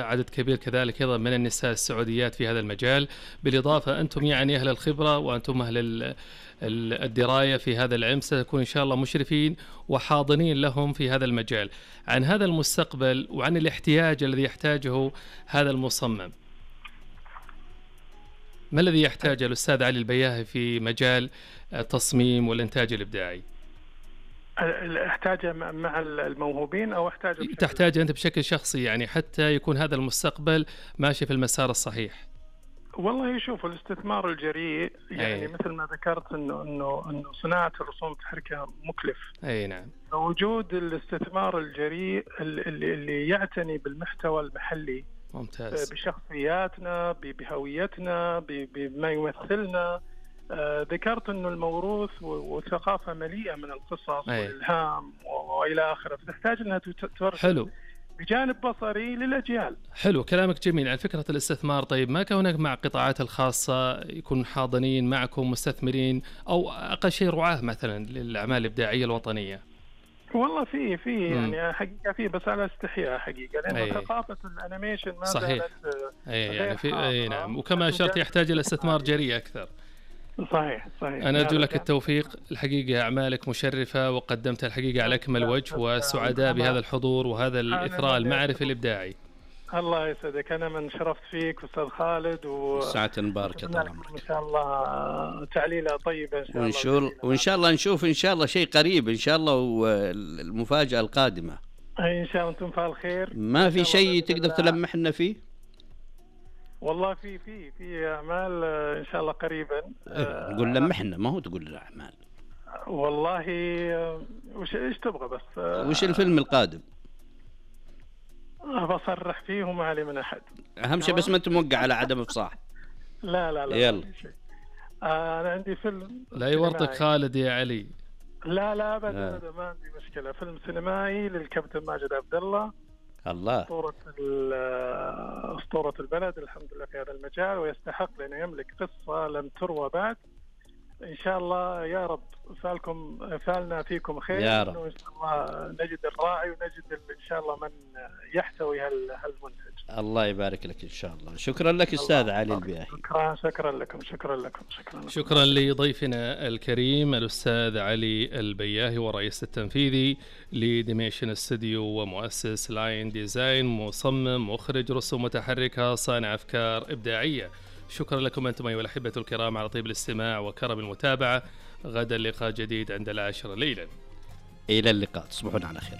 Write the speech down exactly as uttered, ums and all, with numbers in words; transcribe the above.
عدد كبير كذلك أيضًا من النساء السعوديات في هذا المجال، بالإضافة أنتم يعني أهل الخبرة وأنتم أهل ال ال الدراية في هذا العلم، ستكونوا إن شاء الله مشرفين وحاضنين لهم في هذا المجال. عن هذا المستقبل وعن الاحتياج الذي يحتاجه هذا المصمم، ما الذي يحتاجه الأستاذ علي البياهي في مجال التصميم والإنتاج الإبداعي؟ احتاجه مع الموهوبين أو احتاجه بشكل تحتاجه أنت بشكل شخصي، يعني حتى يكون هذا المستقبل ماشي في المسار الصحيح؟ والله شوفوا الاستثمار الجريء يعني أي. مثل ما ذكرت انه انه انه صناعه الرسوم المتحركه مكلف. اي نعم. وجود الاستثمار الجريء اللي, اللي يعتني بالمحتوى المحلي، ممتاز، بشخصياتنا، بهويتنا، بما يمثلنا. آه ذكرت انه الموروث والثقافه مليئه من القصص أي. والالهام والى اخره، فتحتاج انها تورث حلو بجانب بصري للأجيال. حلو كلامك جميل. عن فكرة الاستثمار، طيب ما كان هناك مع القطاعات الخاصة يكون حاضنين معكم مستثمرين أو أقل شيء رعاة مثلا للأعمال الإبداعية الوطنية؟ والله في في يعني حقيقة في، بس على استحياء حقيقة، لأن أي. ثقافة الأنيميشن ما صحيح. زالت أي يعني في أي نعم، وكما أشرت يحتاج إلى استثمار جريء أكثر. صحيح صحيح. أنا أرجو لك التوفيق الحقيقة، أعمالك مشرفة وقدمتها الحقيقة على أكمل وجه، وسعداء بهذا الحضور وهذا الإثراء المعرفي الإبداعي. الله يسعدك، أنا من شرفت فيك أستاذ خالد، و ساعة مباركة طال عمرك. إن شاء الله تعليلة طيبة إن شاء وإن شاء الله، وإن شاء الله نشوف إن شاء الله شيء قريب إن شاء الله، والمفاجأة القادمة إن شاء الله. أنتم فعل خير. ما في شيء تقدر تلمحنا فيه؟ والله في في في أعمال إن شاء الله قريبا. نقول لمحنا، ما هو تقول الأعمال. والله وش إيش تبغى بس؟ وش الفيلم القادم؟ بصرح فيه وما علي من أحد. أهم شيء بس ما أنت موقع على عدم إفصاح. لا لا لا. يلا. آه أنا عندي فيلم. لا يورطك خالد يا علي. لا لا أبدا أبدا ما عندي مشكلة. فيلم سينمائي للكابتن ماجد عبد الله. الله. أسطورة أسطورة البلد الحمد لله في هذا المجال، ويستحق لأنه يملك قصة لم تروى بعد. إن شاء الله يا رب فالكم فالنا فيكم خير يا رب. إن شاء الله نجد الراعي ونجد إن شاء الله من يحتوي هالمنتج. الله يبارك لك إن شاء الله. شكرا لك أستاذ علي البياهي. شكرا شكرا لكم شكرا لكم شكرا لكم. شكرا لضيفنا الكريم الأستاذ علي البياهي، ورئيس التنفيذي لديميشن استوديو ومؤسس لاين ديزاين، مصمم مخرج رسوم متحركة صانع أفكار إبداعية. شكرا لكم أنتم أيها الأحبة الكرام على طيب الاستماع وكرم المتابعة. غدا لقاء جديد عند العاشرة ليلا. إلى اللقاء، تصبحون على خير.